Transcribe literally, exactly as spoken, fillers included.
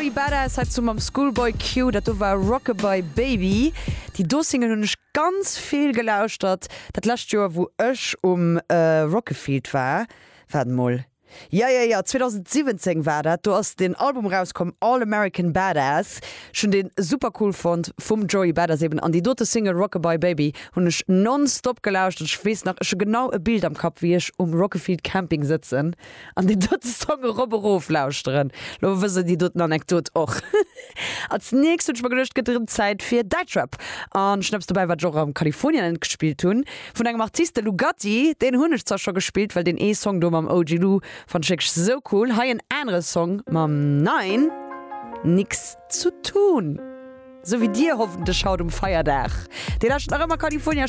Joey Badass hat zu mam Schoolboy Q, dat do war Rockabye Baby. Déi do Single hunn ech ganz vill gelauschtert. Dat lescht Joer wou ech um äh, Rock-A-Field war. Waart mol. Ja ja ja zweedausendsiwwenzéng war dat, do ass den Album rauskomm All American Badass, ech hunn deen super cool fonnt vum Joey Badass eben an déi dote Single Rockabye Baby hunn ech nonstop gelauschtert. Ech weess nach, ech hu genau e Bild am Kapp wéi ech um Rock-A-Field Camping sëtzen an deen dote Song erop erof lauschteren. Lo wësst der déi doten Anekdot och. Als nächst hunn ech mer geduecht, gëtt erëm Zäit fir Däitschrap an ech hunn eppes dobäi wat ech och am Kalifornien gespillt hunn vun engem Artist, de Lugatti, deen hunn ech zwar scho gespillt, well deen ee Song do mam O G Lou fannt ech wierklech sou cool. Hei en anere Song mam Nine, Nix zu tun. Sou wéi dir hoffentlech haut um Feierdag. Dir lauschtert nach ëmmer California.